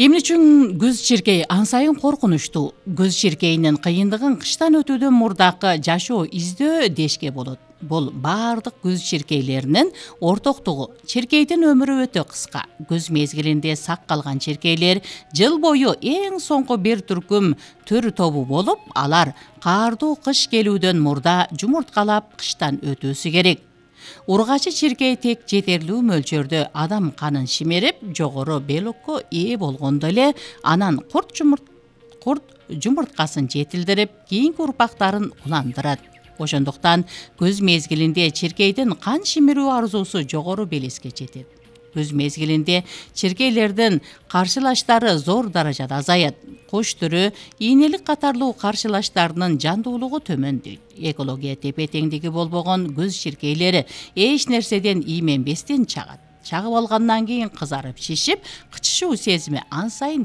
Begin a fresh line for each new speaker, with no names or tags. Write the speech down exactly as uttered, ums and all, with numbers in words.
Эмне үчүн көз чиркей ан сайын коркунучтуу? Көз чиркейинин кыйындыгын кыштан өтүүдөн мурдакы жашоо издөө дешке болот. Бул баардык көз чиркейлеринин ортоктугу. Чиркейдин өмүрү өтө кыска. Көз мезгилинде сак калган чиркейлер жыл бою эң соңку бир түркүм төр тобу болуп, алар каардуу кыш келүүдөн мурда жумурткалап кыштан өтүүсү керек. Ургачы чиркей тек жетерлүү мөлчөрдө адам канын шимерип, жогору белокко ээ болгондо эле анан курт жумурт курт жумурткасын жетилдирип, кийинки урпактарын уландырат. Ошондуктан көз мезгилинде чиркейдин кан шимирүү арзуусу жогору белеске жетет. Көз мезгилинде чиркейлердин каршылаштары зор даражада азаят. Кош түрү, ийнелик катарлуу каршылаштарынын жандуулугу төмөндөйт. Экология тепе-теңдиги болбогон көз чиркейлери эч нерседен ийменбестен чагат. Чагып алгандан кийин кызарып шишип, кычышуу сезими ан сайын